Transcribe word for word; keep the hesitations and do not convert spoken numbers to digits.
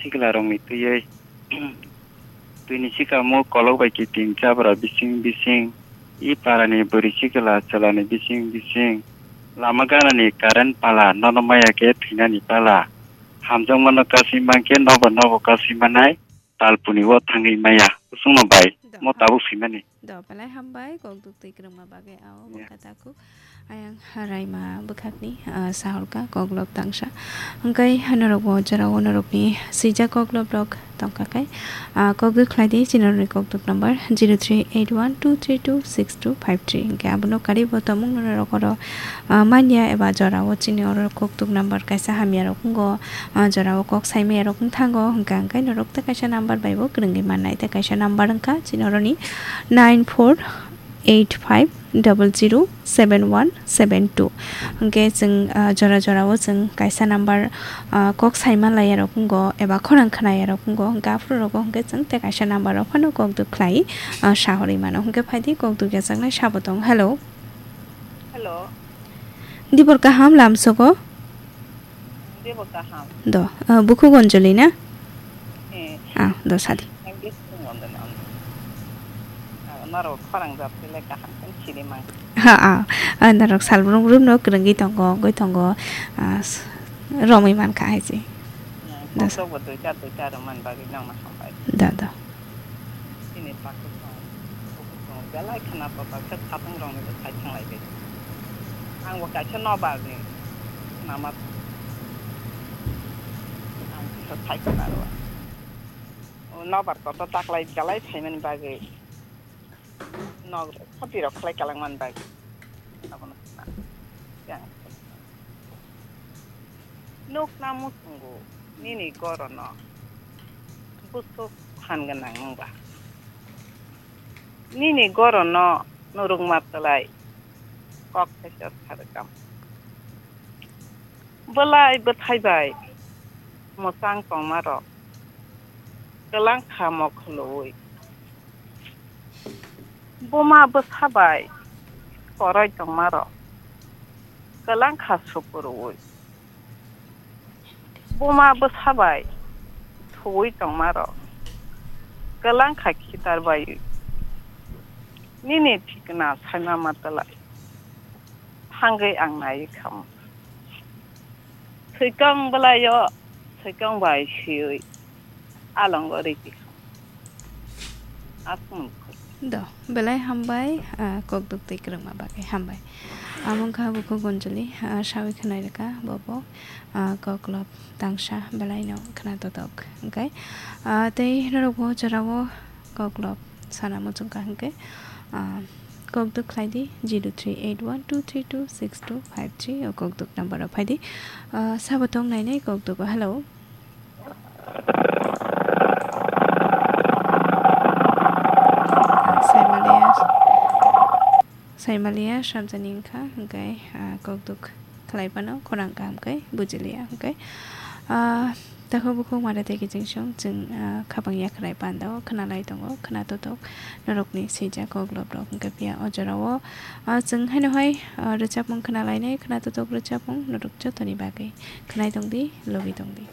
sikla rokni twiwi twini sikamo kolok bai kiting chabra bising bising, i parani bwrwi sikla chwlani bising bising, lama ganani current pala nono maya khe thwinani pala, hamjakmano kasui mankhe nobo nobo kasui manai, talpuni o thangwi maya, kusungno bai, mo tabuk swimani. Do, belai hambai, kok duk twi kwrwngma bagwi, ao bwkha takhuk. Ayang raima bwkhakni, ah, sahorka, koklop tangsa. Hwnkhe norokbo jorao norokni swijak kokloprok tongkha khe, ah, kok duk khlai di, chini norokni kok duk number zero three eight one two three two six two five three. Hwnkhe abono karibo tongmung norok oro, ah, manya eba jorao chini oro kok duk number kaisa hamya rok wngo, ah, jorao kok saimaya rok wng thango, hwnkhe hwnkhe norok tei kaisa number bai bo kwrwngwi mannai, tei kaisa number wngkha chini oroni nine four eight five double zero seven one seven two. Hwnkhe chwng, ah, jora jorao chwng kaisa number, ah, kok saima laiyarok wngo eba khorang khnayarok wngo, hwnkhe aphuru rogo hwnkhe chwng tei kaisa number o phano kok duk khlai, ah, sahorwi mano. Hwnkhe phaidi kok duk yajaknai sabo tong. Hello. Hello. Dibor kaham lamsogo? Debo kaham. Do, ah, bukhuk Anjali na? Eh. Ah, do sadi. Ang bisi tongo do na. Ah, norok khorang jat le kaham khe siri mang. Ha, ah, ah, norok salbrum rum no kwrwngwi tongo, wngwi tongo, ah, s-, romwi mankha hai se. Hmm, do sa- kokbo duita, duita rwmani bagwi nokno hambai. Do, do. Chini takhuk tong, bukhuk tong, belai khna total khe satung rokni bwsai thanglai bai. Ang bo kaisa nobar ni khna ma, ang kisa sai khna rw. O nobar kotor taklai belai phaimani bagwi nok rok khati rok khlai kalangmani bagwi. Abono khna. Yang. Nukna muchungo nini gorono busuk phan gwnang wngba. Nini gorono nurungma twlai kok thaisa sa rwkam. Bwlai bwthai bai mwchang tongmarok kwlang kha mokholoui. Buma bwsa bai koroi tongmarok kwlang kha sukurui. Buma bwsa bai thuwi tongmarok kwlang kha khitar baiwi. Nini thikna saima matwlai thangwi ang naiwi khamu. Swikang bwlaio swikang bai swiwi alongo rikikha. Aswk. Do, belai hambai, ah, kok duk twi kwrwngma bagwi hambai. Amo wngkha bukhuk Anjali, ah, sawi khwnai rwkha bobo, ah, koklop tangsa belaino khna totok. Hwnkhe, ah, tei norokbo jorao koklop sana muchungkha hwnkhe, ah, kok duk khlai di zero three eight one two three two six two five three o kok duk number o phai di. Ah, sabo tong nainai kok dugo. Hello. Saimaliya, Saimaliya samjani wngkha, hwnkhe, ah, kok duk khlai phano khorang kaham khe bujiliya, hwnkhe, ah, takhuk bukhuk mara tei kiching song chwng, ah, khapang yakhrai panda o khwnalai tongo, khna totok norokni swijak koklop rok, hwnkhe phiya o jorao, ah, chwng haino hai, ah, rwchapmung khwnalainai, khna totok rwchapmung norok jotoni bagwi khwnai tongdi, logi tongdi.